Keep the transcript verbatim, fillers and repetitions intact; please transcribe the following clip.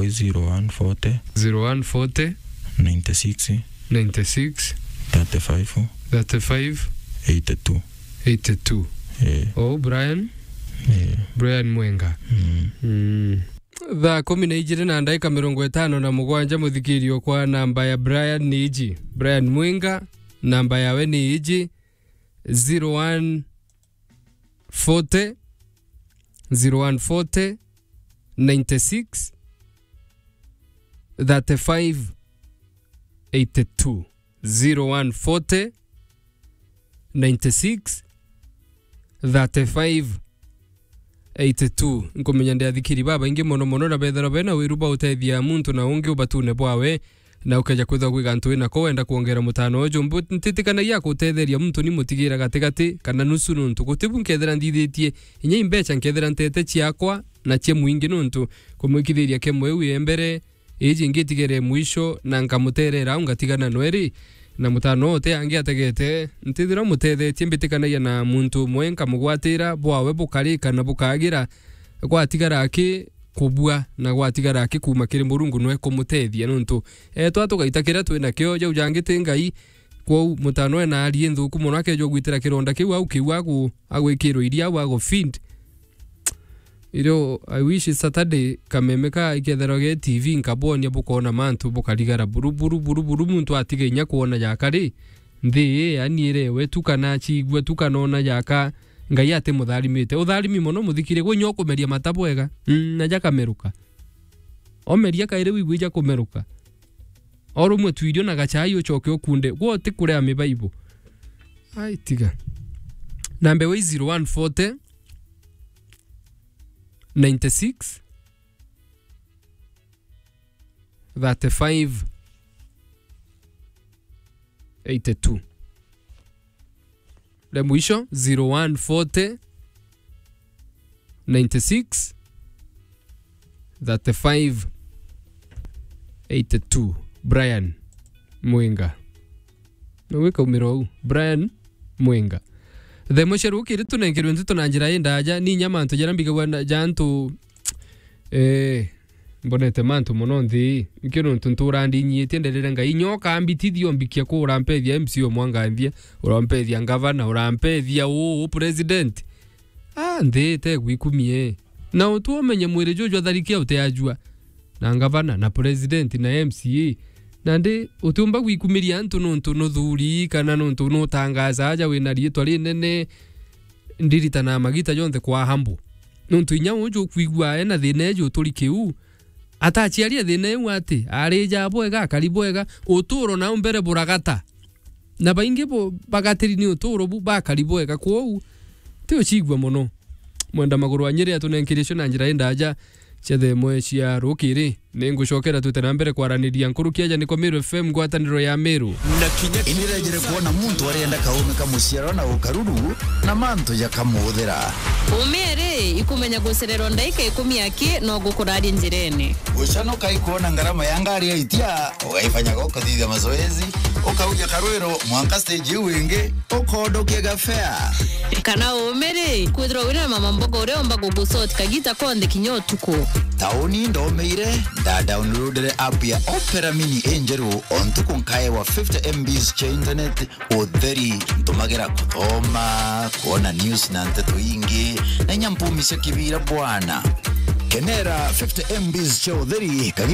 zero one forty, zero one forty, ninety six, ninety six, thirty five, thirty five, eighty two. Eighty two. Eh. Oh, Brian. Eh. Brian Mwenga. Mm. Mm. Thaa kumi na ijiri na ndaika mirongo itano na mugwanja, muthikirio kwa namba ya Brian ni iji. Brian Mwenga, namba yawe ni iji, zero one forty, zero one forty, ninety six, thirty five, eighty two. Zero one forty, ninety six, thirty five, eighty two. Nkumenya ndi athikiri babaingi mono mono na bethirwa bena wiru bwa utethia muntu na ungi ubatune bwawe, na ukeja kwithirwa kwi gantu winako wenda kwongera mutano uju. Mbu-, ntitikanagia kutetheria muntu ni mutigira gatigati kana nusu nuntu gutibu nkethira nthithitie inya imbecha nkethira ntete ciakwa na cia mwingi nuntu kumwikithiria kemo iu ye mbere iji ngitigere mwisho na nkamuterera au ngatigana nwe ri, na mutano uti angi ategete, ntithira mutethetie mbitikanagia na muntu umwe nkamugwatira bwawe bukarika na bukagira, gwatigara aki kubua na gwatigara aki kuma kiri Murungu nwe kumutethia nuntu etwa tugaita kiria twinakio jau jangi ti Ngai. Kwou mutano ena ari nthuku mono akejwa gwitira kironda kiu au kiu agu-, agwikirwo iria au agu feed. Irio, I wish Saturday kameme ka ikethirwa ge T V nkabonia bukoona mantu bukarigara buru, buru, buru, buru, muntu atiga inya kwona jaka ri, nthi ii yani irewe tu kana aciigua tu kana ona jaka, Ngai ati mutharimite. Utharimi mono muthikire, gwe inya ukumeria mata bwega, mm, na jakameruka. Omeria kairi wigwe ijakumeruka. O rumwe tu irio na gachai ucoke ukunde. Gwe utikurea mibaibu. Ai, tiga. Namba iwe i zero one forty, ninety six, thirty five, eighty two. Ria mwisho, zero one forty, ninety six, thirty five, eighty two. Brian Mwenga. Na gwikaumira uu. Brian Mwenga. Themo cia rukiri tunengerwe ntutu na njira indaja, ni inya mantu jaria mbigagua na, ja antu, eh, mbonete mantu mono nthi ii. Nikio nontu ntura ndinyiitie nderere Ngai, inya ukambitithia umbikia ku urampethia M C A umwe anganthia, urampethia ngavana, urampethia uu, uu president. Ah, nthi ite gwikumie. Na utu umenye mwiri juju jwa tharikia utiajua. Na ngavana, na president, na M C A. Nandi utiumba gwikumiria antu nontu nuthuri kana nontu nutangaza aja wina riitwa rinene. Ndiritanaga magita jonthe kwa humble. Nontu inya uju ukwigua ena thina eju uturi kiu, ataciaria thina iu ati, arija bwega, akari bwega, uturo nau mbere buragata. Na baingi bo bagatiri ni uturo bu bakari bwega. Kwou, ti ucigua mono. Mwenda maguru wa Nyeri atunenkirie cio na njira indaja cia themo cia rukiri. Ni ngucokera twite na mbere kwaraniria nkuruki aja niko Meru F M, ngwataniro ya Meru. Na kinya inirejire kwona muntu arienda kaume ka muciaro na ukaruru na mantu jakamuthira. Ume ri, ikumenya gucererwa ndaika ikumi aki no gukuraria njirene. Gucanuka ikwona ngarama ya ngari ya itia, ugaifanyaga ukathithia mazoezi, ukauja karwiro mwanka stage iu ingi, ukondokia gafea. Kana ume ri, kwithirwa wina mama mboga uria umba gugusort kagita konthe kinya utuku. Tauni ndomeire, nda downloadire app ya Opera Mini injeru o ntuku nkaewa fifty M Bs cia internet utheri ntumagira kuthoma, kwona news na nteto ingi, na inya mpumi cia kibira bwana. Kenera fifty M Bs cia utheri